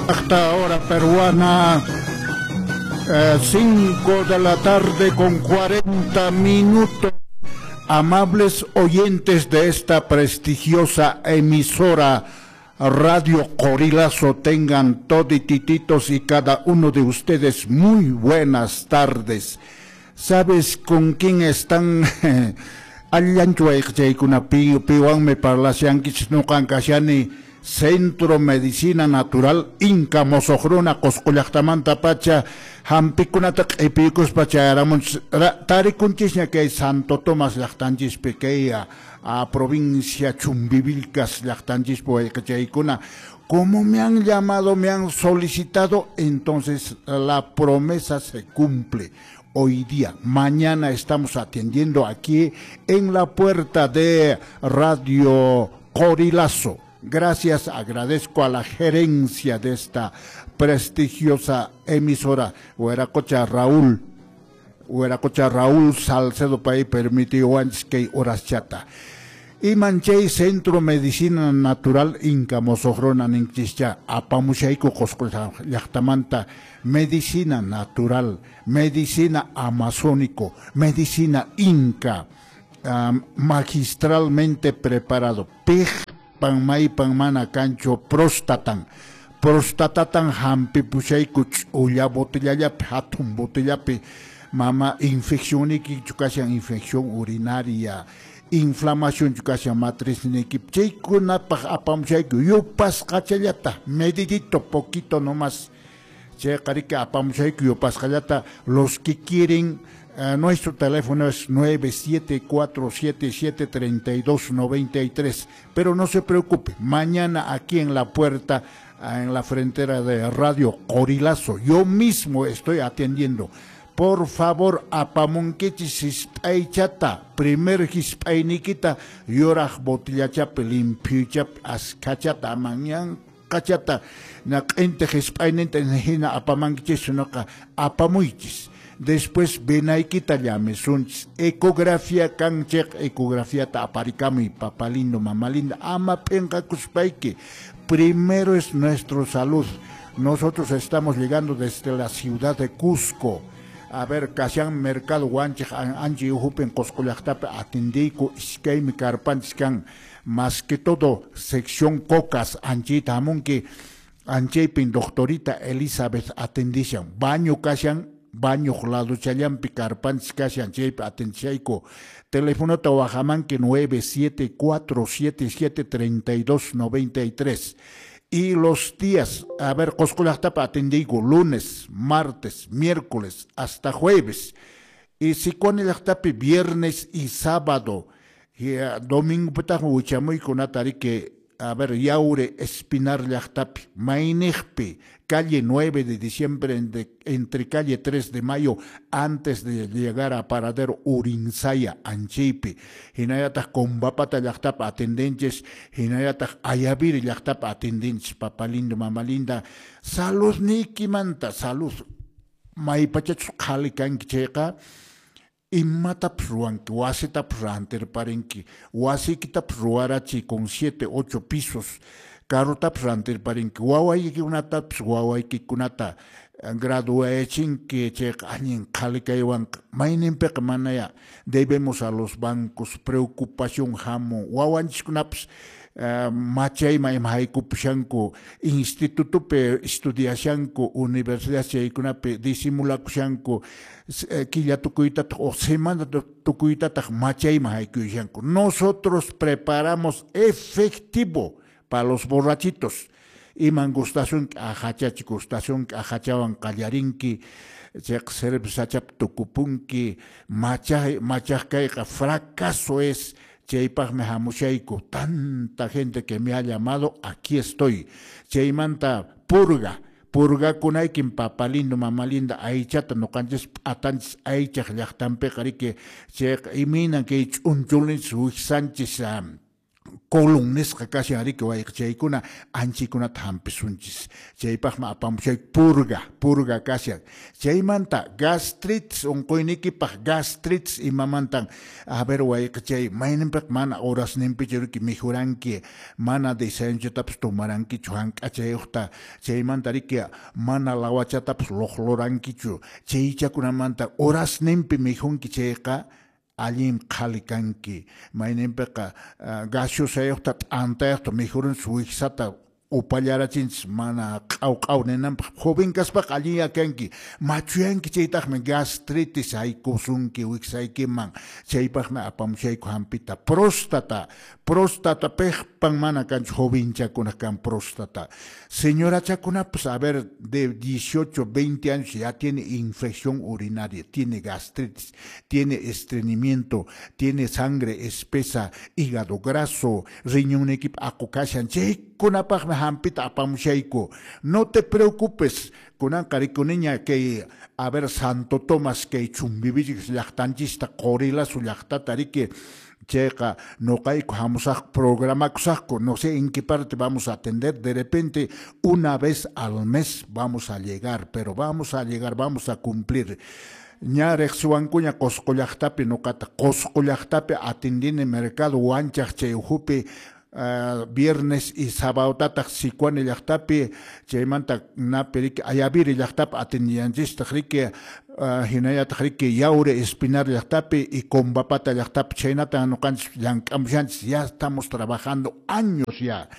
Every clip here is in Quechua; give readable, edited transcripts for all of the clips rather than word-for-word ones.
Hasta hora peruana, 5 de la tarde con 40 minutos. Amables oyentes de esta prestigiosa emisora Radio Corilazo, tengan toditititos y cada uno de ustedes muy buenas tardes. ¿Sabes con quién están? Allanchu wayqichaykuna piwanmi parlashankichis nuqan kashani Centro Medicina Natural Inca Mosoqruna Qusqu llaqtamanta pacha hampikunata q'ipiykuspa chayaramunchis tarikunchisña kay Santo Tomás llaqtanchispi kay a provincia Chumbivilcas llaqtanchispi wayqichaykuna. Como me han llamado, me han solicitado, entonces la promesa se cumple. Hoy día, mañana estamos atendiendo aquí en la puerta de Radio Corilazo. Gracias, agradezco a la gerencia de esta prestigiosa emisora, Hueracocha Raúl, Hueracocha Raúl Salcedo pay permitiwanchis kay horaschata. Iman chay Centro Medicina Natural Inca Mosoqruna ninchischa apamushayku Qusqu llaqtamanta medicina natural, medicina amazónico, medicina inca, magistralmente preparado. Piqpan maypan mana kanchu próstatan. Prostatatan hampipushayku ch'ulla botellallapi, hatun botellapi, mama infeccionniykichu kashan infección urinaria, inflamación kashan matrizniykip, chaykunapaq apamushayku yupasqachallata, medidito, poquito nomás. Chayqa riki apamushayku yupasqallata. Los que quieren, nuestro teléfono es 974773293, pero no se preocupe, mañana aquí en la puerta, en la frontera de Radio Corilazo, yo mismo estoy atendiendo. Por favor, apamunkichis hisp'aychata, primer hisp'ayniykita yuraq botillachapi limpiochapi askachata mañan kachata na q'intiq hisp'ayninta hina apamankichis noqa apamuychis. Después venaykita llamisunchis. Ecografía kan chayqa ecografiata aparikamuy, papá lindo, mamá linda, ama p'inqakuspayki. Primero es nuestra salud. Nosotros estamos llegando desde la ciudad de Cusco. A ver, kashan mercado wanchik anchi uhupin Qusqu llaqtapi atendiyku iskaymi karpanchis kan, más que todo sección Cocas anchita hamunki, anchaypin doctorita Elizabeth atendishan, baño kashan, baño laduchallampi karpanchis kashan, chaypi atendishayku. Telefonota wajamanki 974773293. Y los días, a ver, Qusqu llaqtapi atendiyku lunes, martes, miércoles, hasta jueves. Y Sicuani llaqtapi viernes y sábado. Y domingo pitaq wichamuykunata riki, a ver, Yaure Espinar llaqtapi, Maynijpi, calle 9 de diciembre, entre calle 3 de mayo, antes de llegar a Paradero Urinsaya, Anchaypi. Hinallataq Combapata llaqtapi atendenchis, hinallataq Ayaviri llaqtapi atendenchis, papá lindo, mamá linda. Salud niykimanta, salud. Maypachachus qhali kanki chayqa, imatapas ruwanki, wasitapas rantirparinki, wasiykitapas ruwarachiy con 7, 8 pisos, carrotapas rantirparinki, wawaykikunatapas wawaykikunata graduayachinki, chayqa allin qhali kaywanqa. Mayninpiqa manaya debemos a los bancos, preocupación hamun, wawanchiskunapas machayman ima haykupushanku, institutopi estudiashanku, universidad chaykunapi disimulakushanku, killa tukuytataq o semana tukuytataq machayman haykuyashanku. Nosotros preparamos efectivo para los borrachitos. Iman gustasunki, ajachachi gustasunki, ajachawan qallarinki, chayqa cervezachapi tukupunki, machaj kayqa fracaso es. Chaypaqmi hamushayku, tanta gente que me ha llamado, aquí estoy. Chaymanta purga, purgakunaykin papá lindo, mamá linda, aychata nuqanchis p'atanchis aychaq llaqtanpiqa riki, chayqa imaynan kay ch'unchulinchis wiksanchis Colon nisqa kashan riki wayqichaykuna, anchikunata hampisunchis. Chaypaqmi apamushay purga, purga kashan. Chaymanta gastritis unquyniykipaq, gastritis imamantan, a ver wayqichay, mayninpiqa mana horasninpichu riki mikhuranki, mana desayunotapas tomarankichu hank'achayuqta, chaymanta riki mana lawachatapas luqlurankichu, chaychakunamanta horasninpi mikhunki chayqa, allin qhali kanki. Mayninpiqa gaseosayuqta t'antayuqta mikhurunchis, wiksata upallarachinchis mana q'aw q'aw ninanpaq. Joven kaspaqa allinya kanki, machuyanki chaytaqmi gastritis haykusunki wiksaykiman. Chaypaqmi apamushayku hampita. Próstata, próstata piqpan mana kanchu, jovenchakuna kan próstata. Señorachakunapas, a ver, de 18, 20 años ya tiene infección urinaria, tiene gastritis, tiene estreñimiento, tiene sangre espesa, hígado graso, riñonniykipi aqu kashan, chaykunapaqmi hampita apamushayku. No te preocupes, kunanqa rikuniña kay, a ver, Santo Tomás kay Chumbivilcas llaqtanchista, Qorilasu llaqtata riki, chayqa noqayku hamusaq, programakusaqku, no sé en qué parte vamos a atender, de repente una vez al mes vamos a llegar, pero vamos a llegar, vamos a cumplir. Ña riqsiwankuña Qusqu llaqtapi noqata, Qusqu llaqtapi atendini mercado Wanchaq chay ukhupi, viernes y sabadotataq Sicuani llaqtapi, chaymanta napi riki Ayaviri llaqtapi atendiyanchistaq riki, hinallataq riki Yauri Espinar llaqtapi y Combapata llaqtapi, chhaynatan ñuqanchis llank'amushanchis, ya estamos trabajando años ya.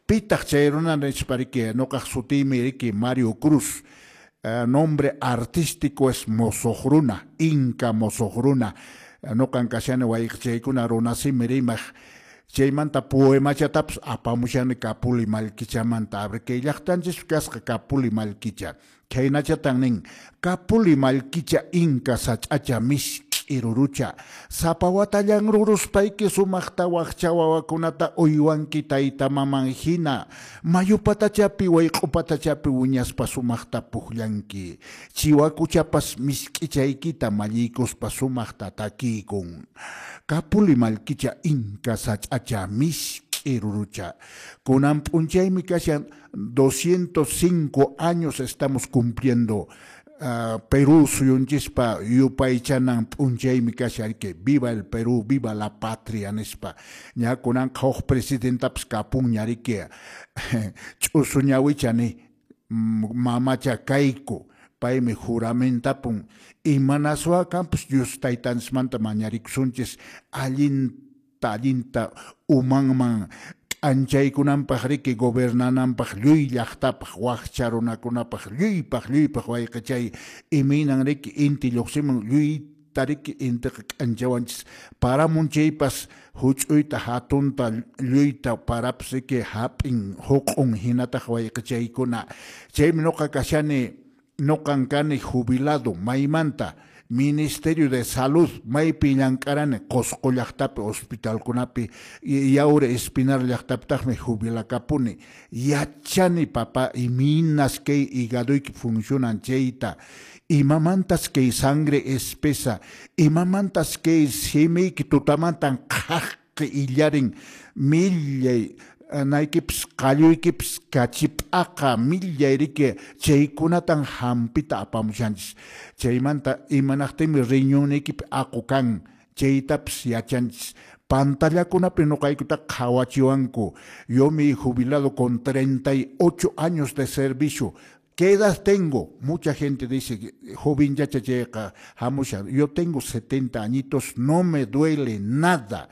Pitaq chay runa nispa riki, ñuqaq sutiymi riki Mario Cruz, nombre artístico es Mosoqruna, Inca Mosoqruna. Ñuqan kashani wayqichaykuna runasimi rimaq. Chaymanta poemachatapas apamushani Kapuli Mallkichamanta. A ver, kay llaqtanchispi kasqa Kapuli Mallkicha. Khaynachatan nin, Kapuli Mallkicha Inka sach'acha misk'i rurucha, sapa watallan ruruspayki sumaqta wakcha wawakunata uywanki tayta maman hina, mayu patachapi wayq'u patachapi wiñaspa sumaqta pukllanki, chiwakuchapas misk'ichaykita malliykuspa sumaqta takiykun. Kapuli Mallkicha Inka sach'acha misk'i rurucha. Kunan p'unchaymi kashan 205 años estamos cumpliendo. Perú suyunchispa yupaychanan p'unchaymi kashan que viva el Perú, viva la patria nispa. Ña kunanqa huk presidentapas kapunña riki, ch'usu ñawicha ni mamacha kayku, paymi juramentapun imanaswa kanpas Dios taytanchismanta mañarikusunchis allinta allinta umanman k'anchaykunanpaq riki gobernananpaq lluy llaqtapaq wakcha runakunapaq lluypaq lluypaq wayqichay imaynan riki inti lluqsimun lluyta riki intiqa k'anchawanchis paramun chaypas huch'uyta hatunta lluyta parapas riki hap'in huq'un hinataq wayqichaykuna. Chaymi ñuqa kashani, ñuqan kani jubilado maymanta Ministerio de Salud, maypi llank'arani Qusqu llaqtapi hospitalkunapi, Yauri Espinar llaqtapitaqmi jubilakapuni. Yachani papá imaynas kay higadoyki funcionan chayta, imamantas kay sangre espesa, imamantas kay simiyki tutamantan qhaqi illarin millay naykipas qalluykipas kachip'aqa millay riki, chaykunatan hampita apamushanchis. Chaymanta imanaqtinmi riñonniykipi aqu kan, chaytapas yachanchis. Pantallakunapi ñuqaykutaqa qhawachiwanku. Yo me he jubilado con 38 años de servicio. ¿Qué edad tengo? Mucha gente dice, joven ya chayqa hamushan. Yo tengo 70 añitos, no me duele nada.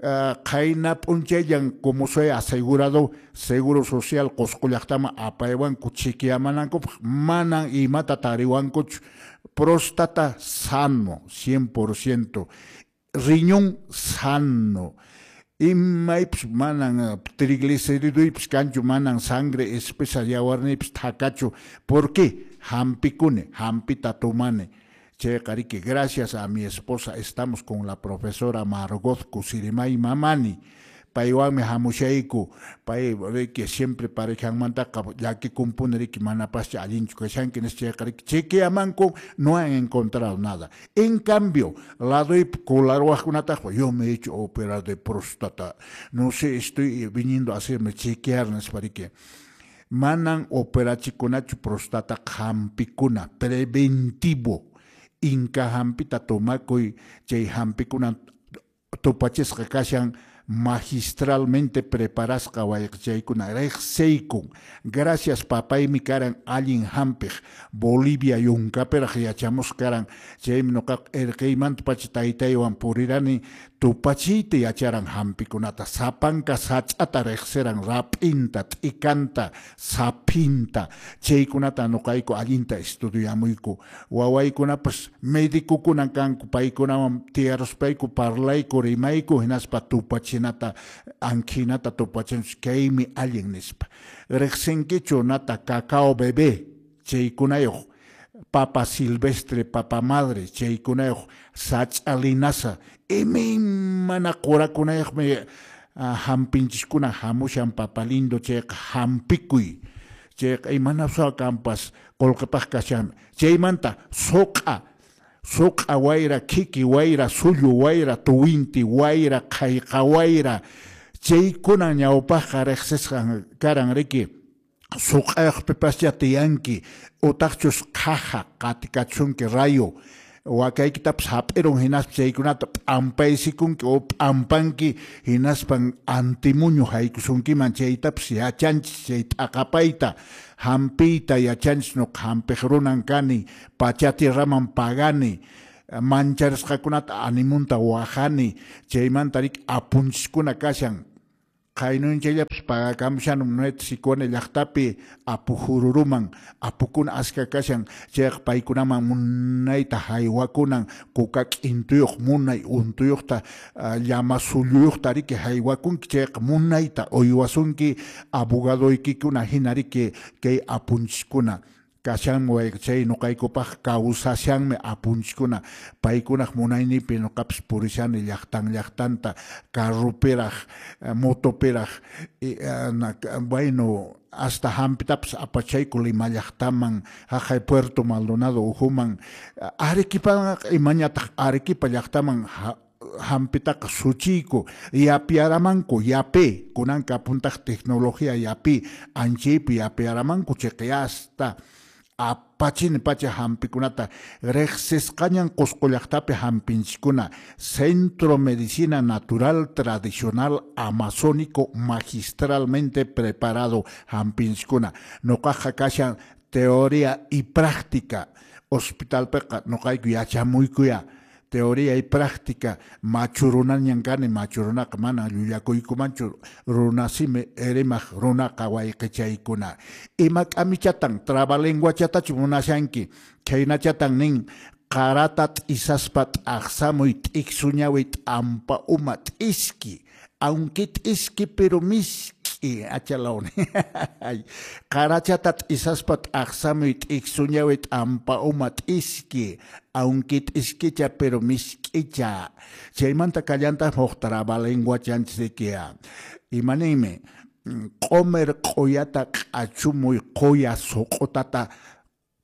Qayna p'unchayllan como soy asegurado seguro social Qusqu llaqtaman apaywanku chiqiyamanankupaq, manan imata tariwankuchu. Próstata sano, 100%, riñón sano, imaypis manan trigliceridoypis kanchu, manan sangre espesa yawarniypis thakachu. ¿Por qué? Hampikuni, hampita tomani. Chayqa riki, gracias a mi esposa estamos con la profesora Margot Cusirimay Mamani. Paywanmi hamushayku. Pay riki siempre parejanmantaqa llakikumpuni riki, manapascha allinchu kashanki nispa, chayqa riki chequeamanku, no han encontrado nada. En cambio, ladoypi colaruwaqkunataq, yo me he hecho operar de próstata, no sé, estoy viniendo a hacerme chequear nispa riki. Manan operachikunachu prostata, hampikuna preventivo. Inka hampita tomakuy, chay hampikuna tupachisqa kashan magistralmente preparasqa wayqichaykuna, riqsiykun. Gracias, papaymi karan allin hampiq, Bolivia yunkapiraq yachamusqa karan, chaymi nuqaqa erqeymantapacha taytaywan purirani, tupachiyta yacharan hampikunata, sapanka sach'ata riqsiran, rap'inta, t'ikanta, saphinta, chaykunata nuqayku allinta estudiamuyku. Wawaykunapas medicokunan kanku, paykunawan tiyaruspayku parlayku, rimayku, hinaspa tupachinata, ankhinata tupachinchis, kaymi allin nispa. Riqsinkichu nata cacao bebé, chaykunayuq, papa silvestre, papa madre, chaykunayuq, sach'a linaza, imaymana qurakunayuqmi hampinchiskuna hamushan, papa lindo, chayqa hampikuy. Chayqa imanasqa kanpas qullqipaq kashan. Chaymanta suq'a, suq'a wayra, khiki wayra, sullu wayra, tuwinti wayra, qhayqa wayra, chaykuna ñawpaqqa riqsisqan karan riki. Suq'ayuqpipascha tiyanki, utaqchus qhaja qatikachunki rayo, wakaykitapas hap'irun, hinaspa chaykunata p'ampaysikunki o p'ampanki, hinaspan antimuñu haykusunkiman, chaytapas yachanchis, chay t'aqapayta, hampiyta yachanchis. Nuqa hampiq runan kani, pachatierraman pagani, mancharisqakunata animunta wajani, chaymanta riki apunchiskuna kashan. Qaynunchayllapas pagakamushanum nuet Sicuani llaqtapi apu jururuman, apukuna aska kashan, chayqa paykunaman munayta haywakunan, kuka k'intuyuq munay untuyuqta, llama sulluyuqta riki haywakunki, chayqa munayta uywasunki abogadoykikuna hina riki kay apunchiskuna. Kashanmi wayqichay, nuqaykupaq kawsashanmi apunchiskuna, paykunaq munayninpi nuqapas purishani llaqtan llaqtanta, carrupiraq, motopiraq, bueno, hasta hampitapas apachayku Lima llaqtaman, haqay Puerto Maldonado uhuman, Arequipaqa imañataq Arequipa llaqtaman hampitaqa suchiyku, yapiaramanku, yapi, kunanka apuntaq tecnología yapi, anchaypi yapiaramanku, chayqa hasta apachini pacha hampikunata, riqsisqañan Qusqu llaqtapi hampinchiskuna, Centro Medicina Natural Tradicional Amazónico magistralmente preparado hampinchiskuna. Nuqaqa kashan teoría y práctica, hospitalpiqa nuqayku yachamuykuya, teoría y práctica, machu runañan kani, machu runaqa mana llullakuykumanchu, runasimi rimaq runaqa wayqichaykuna. Ima k'amichatan, trabalenguachatachu munashanki, khaynachatan nin, qarata t'isaspa t'aqsamuy, t'iksuñawi t'ampa uma t'iski, aunque t'iski pero misk'i, achalawni. Qarachata t'isaspa t'aqsamuy, t'iksuñawi t'ampa uma t'iski, aunque t'iskicha pero misk'icha. Chaymanta kallantaq huk trabalenguachanchis. Imaninmi, q'umir q'uyata q'achumuy quya suq'utata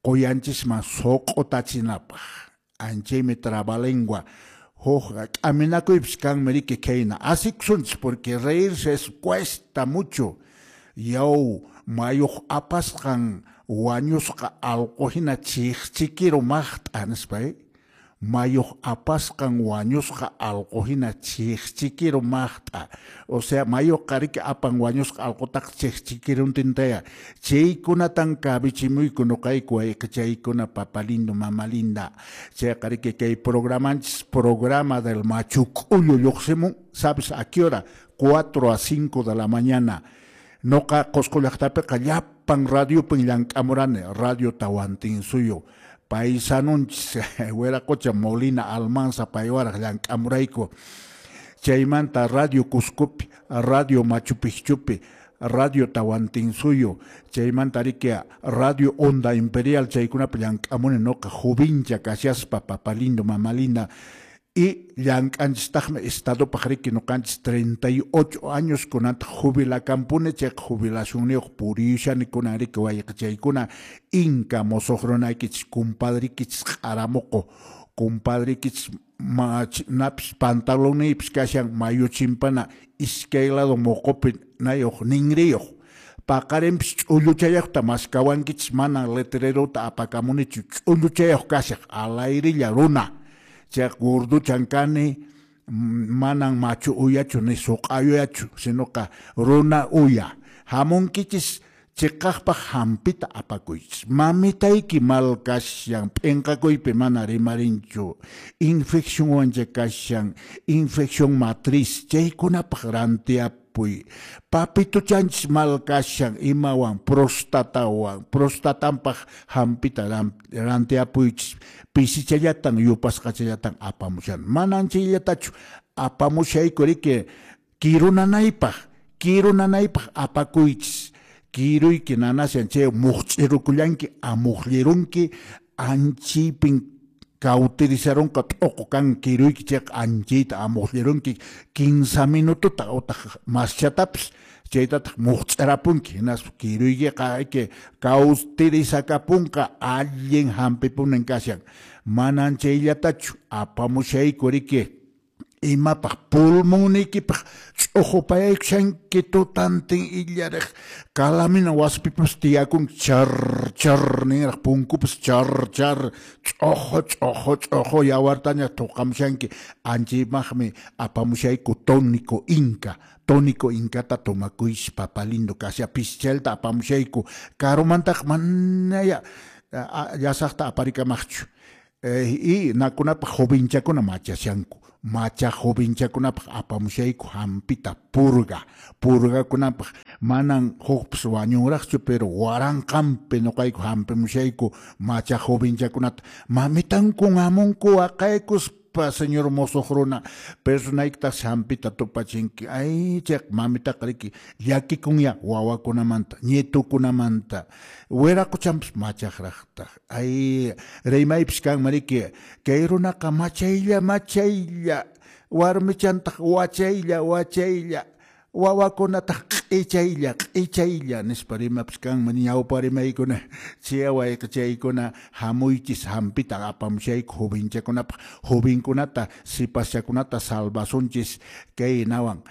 quyanchisman suq'utachinapaq. Anchaymi trabalengua. Huk k'aminakuypis kanmi riki khayna. Asikusunchis porque reírse es cuesta mucho. Yaw mayuq apasqan wañusqa allqu hina chiqchikiru maqt'a nispa, Mayuq apasqan wañusqa allqu hina chiqchikiru maqt'a. O sea, mayuqa riki apan wañusqa allqutaqa chiqchikiruntintaya. Chaykunatan kabichimuyku nuqayku wayqichaykuna, papa lindo, mama linda. Chayqa riki kay programanchis, programa del Machu K'ullu lluqsimun, ¿sabes a qué hora? 4 a 5 de la mañana. Nuqa Qusqu llaqtapiqa llapan radiopin llank'amurani, Radio Tawantinsuyu. Paisanunchis Wiraqocha Molina Almanza paywaraq llank'amurayku. Chaymanta Radio Cuscopi, Radio Machu Picchupi, Radio Tawantinsuyu, chaymanta riki Radio Onda Imperial, chaykunapi llank'amuni nuqa jovincha kashaspa, papa lindo, mama linda. Y llank'anchistaqmi estadopaq riki nuqanchis 38 años kunantaq jubilakampuni, chayqa jubilacionniyuq puriyushani kunan riki wayqichaykuna. Inka musuq runaykichis, compadrikichis q'aramuqu, compadrikichis napis pantalonniypis kashan mayu chimpana iskay lado muqupi nayuq ninriyuq. Paqarinpis ch'ulluchayuqta maskawankichis, mana letrerota apakamunichu, ch'ulluchayuq kashaq alayrilla runa. Chayqa gorduchan kani, manan machu uyachu ni suq'a uyachu, sinoqa runa uya. Hamunkichis chiqaqpaq hampita apakuychis. Mamitayki mal kashan, p'inqakuypi mana rimarinchu, infeccionwancha kashan, infección matriz, chaykunapaq rantiapuy. Papituchanchis mal kashan, imawan, prostatawan, prostatanpaq hampita rantiapuychis. Pisichallatan, yupasqachallatan apamushan. Manan chayllatachu apamushayku riki kirunanaypaq, kirunanaypaq apakuychis. Kiruyki nanashan chay muqch'irukullanki, amuqllirunki, anchipin cauterizarunqa t'uqu kan kiruyki chayqa anchiyta amuqllirunki 15 minutota utaq maschatapis chaytataq muqch'irapunki, hinaspa kiruykiqa ayki cauterizakapunqa, allin hampipunin kashan. Manan chayllatachu apamushayku riki imapaq pulmonniykipaq ch'uqupayaykushanki tutantin illariq calamina waspipas tiyakunki char char ninraq punkupas char char ch'uqu ch'uqu ch'uqu yawartaña tuqamushanki. Anchaymaqmi apamushayku tónico inca, tónico incata tomakuychis papa lindo kasha pischalta apamushayku karumantaq manaya llasaqta aparikamaqchu. Y nakunapaq jovenchakuna machashanku, macha jovenchakunapaq apamushayku hampita purga, purgakunapaq manan hukpas wañunraqchu, pero waranqanpi nuqayku hampimushayku macha jovenchakunata. Mamitankun hamunku waqaykuspa, señor mozuq runa, personaykitaq hampita tupachinki. Ay, chayqa mamitaqa riki llakikunya wawakunamanta, ñetukunamanta, wiraquchanpas machaqraqtaq. Ay, rimaypis kanman riki, kay runaqa machaylla, machaylla, warmichantaq wachaylla, wachaylla, wawakunataq q'ichaylla, q'ichaylla nispa rimapis kanman ñawpa rimaykuna. Chay wayqichaykuna hamuychis hampita apamushayku jovenchakunapaq, jovenkunata sipaschakunata salvasunchis kay nawan.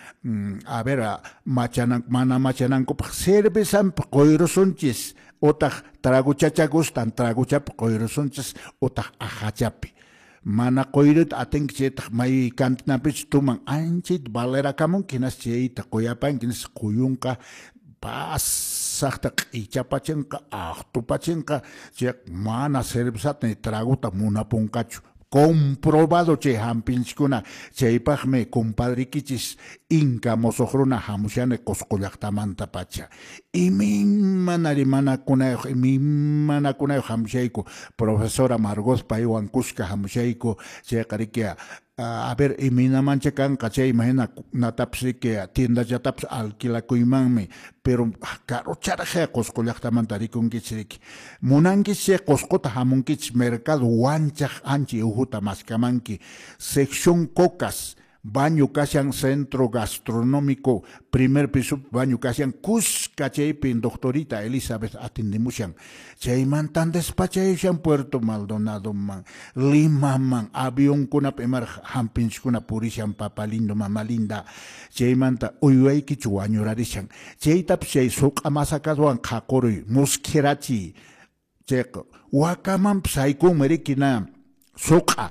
A ver, machanan, mana machanankupaq cervezanpi quyrusunchis, utaq traguchacha gustan traguchapi quyrusunchis, utaq ajachapi. Mana quyruta atinki chaytaq may cantinapich tuman anchayta valerakamunki, hinas chayta quyapanki, hinas quyunqa pasaqta q'ichapachinqa, aqtupachinqa, chayqa mana cervezata ni traguta munapunqachu. Comprobado chay hampinchikuna. Chaypaqmi compadrikichis Inka mozuq runa hamushani Qusqu llaqtamanta pacha. Imaymana rimanakunayuq, imaymanakunayuq hamushayku. Profesora Margot paywan kuska hamushayku. Chayqa riki, a ver, imaynamancha kanqa chay imahina natapis riki tiendachatapis alquilakuymanmi, pero karucharaq Qusqu llaqtamanta rikunkichis riki. Munankichis chay Qusquta hamunkichis mercado wanchaq ancha uhuta maskamanki. Sección Cocas, baño kashan centro gastronómico, primer piso baño kashan kuska chaypi doctorita Elizabeth atindimushan. Chaymantan despachayushan Puerto Maldonado man, Lima man, avionkunapi imaraq hampinchikuna purishan papa lindo, mama linda. Chaymanta uywaykichu wañurarishan. Chaytapis chay suq'a masakaswan qhaquruy, muskhirachiy. Chayqa wakamanpas haykunmi riki na suq'a.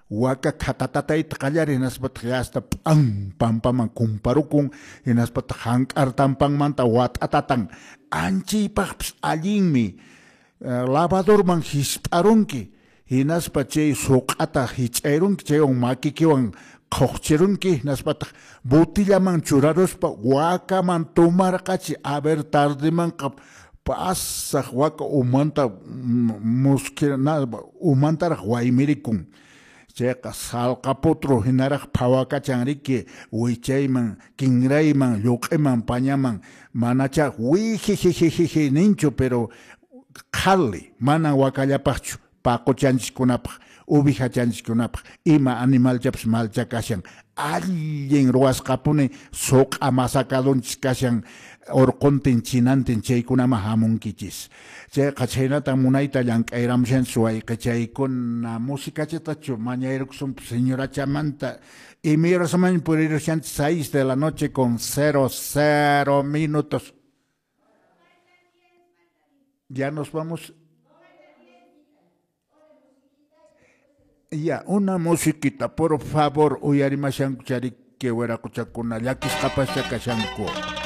Waka khatatatayta qallari hinaspataq hasta p'an pampaman kumparukun, hinaspataq hank'artampanmanta wat'atatan. Anchaypaqpis allinmi. Lavadorman hisp'arunki, hinaspa chay suq'ata hich'ayrunki, chaywan makikiwan qhuqchirunki, hinaspataq botillaman churaruspa wakaman tumarqachi. A ver, tardemanqa pasaq waka umanta muskhirana, umantaraq waymirikun. Chayqa salqaputru hinaraq phawakachan riki wichayman, kinrayman, lluq'iman, pañaman, manacha wijijijijiji ninchu, pero qhali, mana wakallapaqchu, Paquchanchiskunapaq, uvijachanchiskunapaq, ima animalchapas malcha kashan. Allin ruwasqapuni suq'a masakadunchis kashan urquntin chinantin chaykunaman hamunkichis. Chayqa chhaynatan munayta llank'ayramushanchis wayqichaykuna. Musicachatachu mañayrukusunpas señorachamanta. Imayrasaman purirushanchis 6 de la noche con 00 minutos. Ya nos vamos. Ya, una musiquita, por favor, uyarimashanku charike wiraquchakuna, llakisqapascha kashanku.